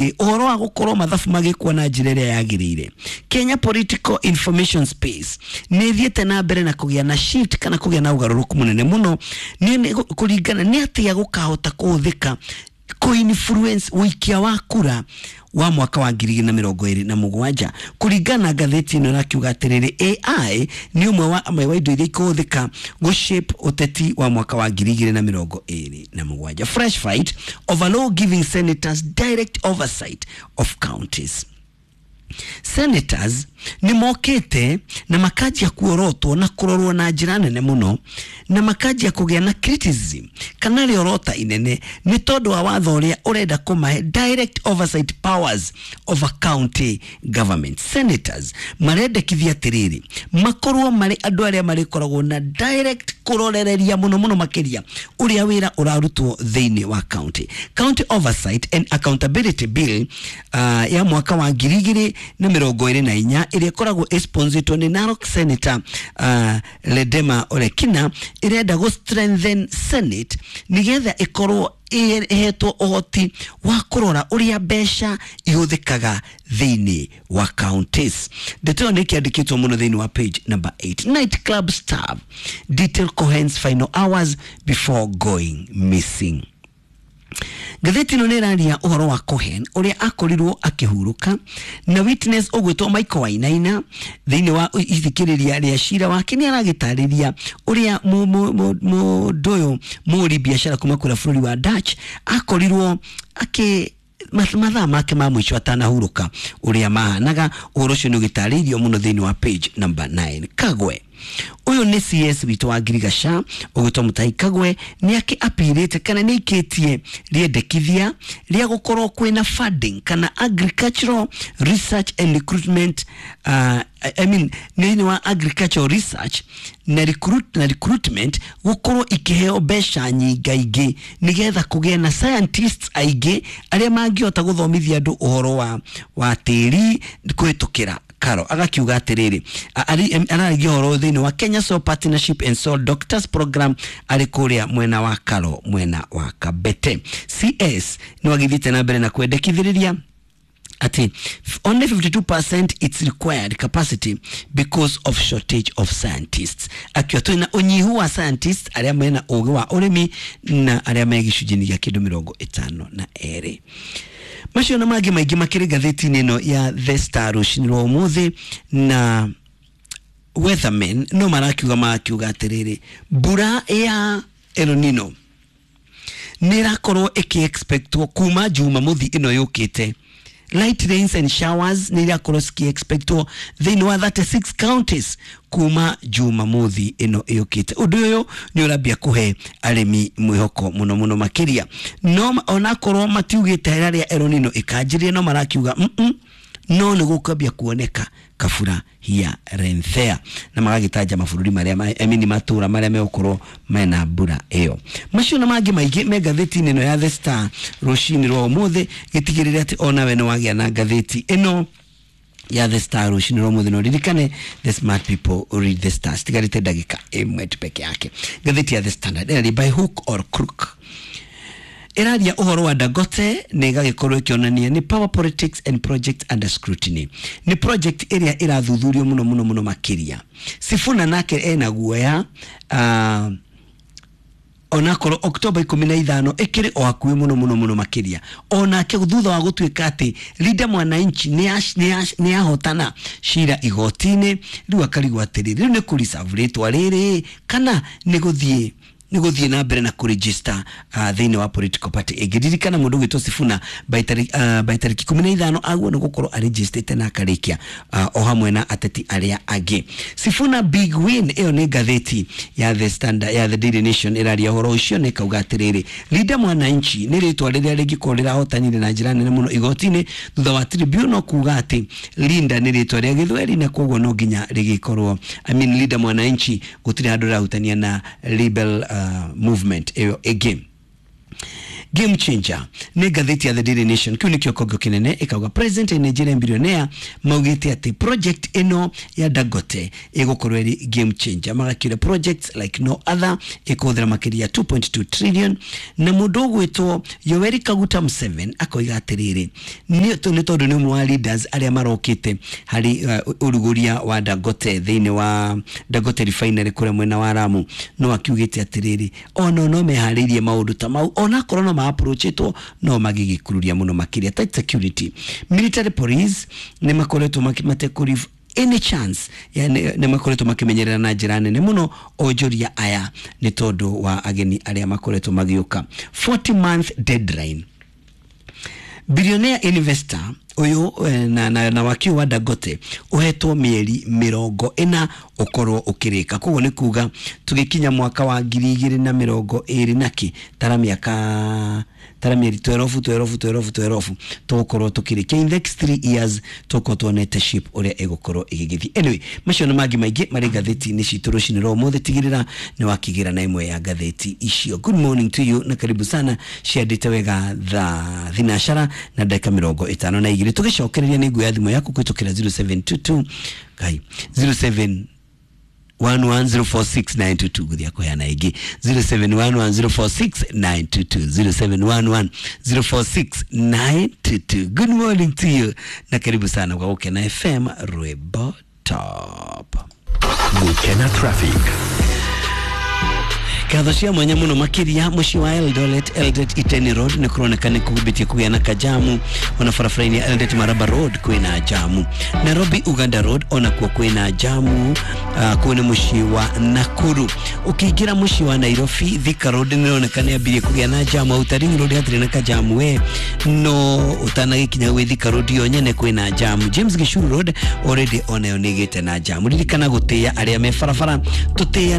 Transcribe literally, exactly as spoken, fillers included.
Ũhoro wa gũkorwo mathabu magĩkwo na njĩra ĩrĩa yagĩrĩire, Kenya political information space nĩ ĩthiĩte na mbere na kũgĩa na shift kana kũgĩa na ũgarũrũku mũnene mũno, nĩ kũringana nĩ atĩa gũkahota kũhũthĩka kũ-influence ũikia wa kura wa mwaka wa ngiri igĩrĩ na mĩrongo ĩrĩ na mũgwanja. Kũringana na ngathĩti ĩno, ĩrakiuga atĩrĩrĩ, A I nĩ ũmwe wa amwe wa indo iria ikũhũthĩka gũ-shape ũteti wa mwaka wa ngiri igĩrĩ na mĩrongo ĩrĩ na mũgwanja. Fresh fight over law giving senators direct oversight of counties. Senators nĩ mokĩte na makanjia kuorotwo na kũrorwo na njĩra nene mũno, na makanjia kũgĩa na criticism kana rĩorota inene nĩ tondũ wa watho ũrĩa ũrenda kũmahe direct oversight powers over county government. Senators marendekithia atĩrĩrĩ, makorwo marĩ andũ arĩa marĩkoragwo na direct kũrorereria mũno mũno makĩria ũrĩa wĩra ũrarutwo thĩinĩ wa county. County Oversight and Accountability Bill uh, ya mwaka wa ngiri igĩrĩ na mĩrongo ĩrĩ na inya, ĩrĩa ĩkoragwo ĩsponsoretwo nĩ Narok Senator uh, Ledema Olekina, ĩrenda gũ strengthen Senate nĩgetha ĩkorwo ĩhetwo ũhoti wa kũrora ũrĩa mbeca ihũthĩkaga thĩinĩ wa counties. Ndeto ĩyo nĩ ĩkĩandĩkĩtwo mũno thĩinĩ wa page number eight. Night club staff detail Cohen's final hours before going missing. Ngathĩti ĩno nĩ ĩraria ũhoro wa Cohen ũrĩa akorirwo akĩhurũka, na witness ũgwĩtwo Michael Wainaina thĩinĩ wa ithikĩrĩria rĩa cira wake nĩ aragĩtarĩria ũrĩa mũndũ ũyũ mũhũri biacara kuma kũrĩa bũrũri wa Dutch akorirwo akĩ mathaa make ma mũico atanahurũka ũrĩa mahanaga. Ũhoro ũcio nĩ ũgĩtarĩirio mũno thĩinĩ wa page number nine. Kagwe, ũyũ nĩ C S witũ wa Ngirigaca ũgwĩtwo Mutahi Kagwe, nĩ akĩ apirĩte kana nĩ aikĩtie rĩendekithia rĩa gũkorwo kwĩna funding kana agricultural research and recruitment, uh, I mean, thĩinĩ wa agricultural research na, recruit, na recruitment gũkorwo ikĩheo mbeca nyingaingĩ nĩgetha kũgĩe na scientists aingĩ arĩa mangĩhota gũthomithia andũ ũhoro wa, wa tĩri kũhĩtũkĩra karo. Agakiuga atĩrĩrĩ, araragia ũhoro thĩinĩ wa Kenya Soil Partnership and Soil Doctors Program arĩ kũrĩa mwena wa Karo, mwena wa Kabete. C S nĩ wagĩthiĩte na mbere na kwendekithĩrĩria ati only fifty-two percent its required capacity because of shortage of scientists, akiwa twina unyihu wa scientists arĩa mena ũgĩ wa ũrĩmi na arĩa me gĩcunjĩ-inĩ gĩa kĩndũ mĩrongo ĩtano na erĩ. Macio na mangĩ maingĩ makĩrĩ ngathĩti-inĩ ĩno ya The Star rũcinĩ rwa ũmũthĩ. Na weathermen no marakiuga marakiuga atĩrĩrĩ, mbura ya El Nino nĩ ĩrakorwo ĩkĩ-expectwo kuma Jumamothi ĩno yũkĩte. Light rains and showers nĩ irakorwo ciki-expectwo thĩinĩ wa thirty-six counties kuma Jumamothi ĩno ĩũkĩte. Ũndũ ũyũ nĩ ũrambia kũhe arĩmi mwĩhoko mũno mũno makĩria, no onakorwo matiugĩte harĩa El Nino ĩkanjĩrĩria, no marakiuga mm -mm, no nĩ gũkwambia kuoneka kabura here and there, na magagĩtanja mabũrũri marĩa, I mean, matũra marĩa megũkorwo mena mbura ĩyo. Macio na mangĩ maingĩ me ngathĩti-inĩ ĩno ya The Star rũcinĩ rwa ũmũthĩ. Gĩtigĩrĩre atĩ onawe nĩ wagĩa na ngathĩti ĩno ya The Star rũcinĩ rwa ũmũthĩ, no ririkane, the smart people read The Star. Citigarĩte ndagĩka ĩmwe tu peke yake. Ngathĩti ya The Standard ĩraria by hook or crook, ĩraria ũhoro wa Dangote na ĩgagĩkorwo ĩkĩonania nĩ power politics and project under scrutiny, nĩ project ĩrĩa ĩrathuthurio mũno mũno mũno makĩria. Sifuna nake ena guoya, uh, onakorwo Oktoba ikũmi na ithano ĩkĩrĩ o hakuhĩ mũno mũno mũno makĩria. Onake thutha wa gũtuĩka atĩ Linda Mwananchi nĩ ahotana cira igoti-inĩ, rĩu akarigwo atĩrĩrĩ, rĩu nĩ kũ-reserve rĩtwa rĩrĩ kana nĩ gũthiĩ nĩ gũthiĩ na mbere na kũregister uh, thĩinĩ wa political party ĩngĩ. Ririkana mũndũ ũgwĩtwo Sifuna by tarĩki uh, by tarĩki ikũmi na ithano aguo nĩ gũkorwo arejistĩte na akarĩkia uh, o hamwe na ateti arĩa angĩ. Sifuna big win, ĩyo nĩ ngathĩti ya The Standard, ya The Daily Nation ĩraria ũhoro ũcio na ĩkauga atĩrĩrĩ, Linda Mwananchi nĩ rĩtwa rĩrĩa rĩngĩkorwo rĩrahotanire na njĩra nene mũno igoti-inĩ thutha wa tribunal kuga atĩ Linda nĩ rĩtwa rĩa gĩthweri na koguo no nginya rĩgĩkorwo, I mean, Linda Mwananchi gũtirĩ handũ rĩrahutania na rebel uh, movement ĩyo ĩngĩ. Game changer nĩ ngathĩti ya The Daily Nation. Kĩu nĩkĩo kĩongo kĩnene, ĩkauga president and Nigerian billionaire maugĩte atĩ project ĩno ya Dangote ĩgũkorwo ĩrĩ game changer, magakiuga projects like no other, ĩkũhũthĩra makĩria two point two trillion. Na mũndũ ũgwĩtwo Yoweri Kaguta Museveni akoiga atĩrĩrĩ, nĩ nĩ tondũ nĩ ũmwe wa leaders arĩa marokĩte harĩ uh, ũrugũria wa Dangote thĩinĩ wa Dangote refinery kũrĩa mwena wa Lamu, no akiugĩte atĩrĩrĩ, ona no meharĩirie maũndũ ta mau, onakorwo no ma-approachĩtwo no magĩgĩkururia mũno makĩria. Tight security, military police nĩ makoretwo matekũri any chance, yani nĩ makoretwo makĩmenyerera na njĩra nene mũno onjoria aya nĩ tondũ wa ageni arĩa makoretwo magĩũka. forty month deadline, billionaire investor uyu na, na, na wakiu wa Dangote uhetwo mieri mirongo ina ukorwo ukirika. Koguo ni kuga tugikinya mwaka wa ngiri igiri na mirongo iri na ki tara miaka tara mieri twelve twelve twelve twelve tugukorwo tukirikia in the next three years, tugukorwo tuonete ship uria igukorwo igigithii. Anyway, macio na mangi maingi mari ngathĩti-inĩ citũ rũcinĩ rwa ũmũthĩ, tigĩrĩra nĩ wakigira na ĩmwe ya ngathĩti icio. Good morning to you na karibu sana. Ciandĩte wega thaa thinacara na ndagĩka mĩrongo ĩtano na igĩrĩ. Tũgĩcokereria nĩ nguoya thimũ yaku kũhĩtũkĩra zero seven two two ngai zero seven one one zero four six nine two two guthia kuheana ingi zero seven one one zero four six nine two two zero seven one one zero four six nine two two. Good morning to you na karibu sana kwa Gukena F M Rwimbo Top. Gukena Traffic. Ngatho cia mwanya muno makiria muciĩ wa Eldoret, Eldoret Iten Road nĩ kũroneka nĩ kũhumbĩtie kũgĩa na kajamu, ona barabara-inĩ ya Eldoret Maraba Road kwĩna jamu, Nairobi Uganda Road onakuo kwĩna jamu, uh, kũu nĩ mũciĩ wa Nakuru. Ũkĩingĩra mũciĩ wa Nairobi Thika Road nĩ ĩroneka nĩ yambirie kũgĩa na jamu, Outer Ring Road hatirĩ na kajamu we, no ũtanagĩkinya gwĩ Thika Road yo nyene kwĩna jamu. James Gishuru Road already onayo nĩ ĩgĩte na jamu. Ririkana gũtĩĩa arĩa me barabara, tũtĩĩa